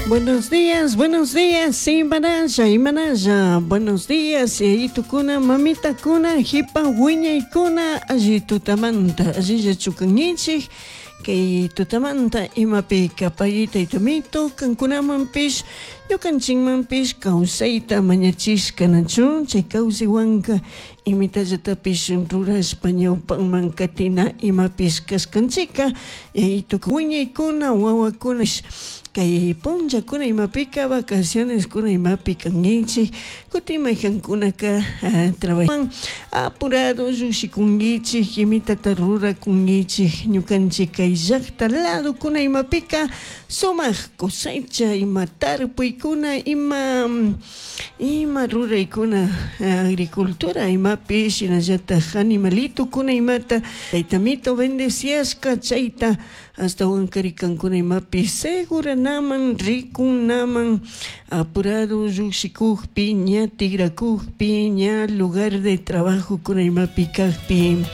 Buenos días, imanalla, imanalla. Buenos días, yayitukuna, mamitakuna, hipa wiñaykuna, alli tutamanta, allilla chukankichik. Kay tutamanta imapi kapayita itamito, kankunamanpish, ñukanchikmanpish kawsayta mañachishka nachu, chay kawsaywanka imitallatapish rurashpa ñawpanman katina imapish kashkanchika, yayituka wiñaykuna, wawakuna kay punllakuna imapika vacacioneskuna imapi kankichik, kutin maykankunaka trabajan apurado llukshikunkichik, imitata rurakunkichik, ñukanchik kay llakta ladokuna imapika sumak cosecha ima tarpuykuna ima ima ruraykuna agricultura imapi shinallatak animalitokuna imata taytamito bendeciashka chayta ashtawankari kankuna imapi seguranaman rikunaman apurado llukshikukpi ña tikrakukpi ña lugar de trabajokuna imapi kakpi.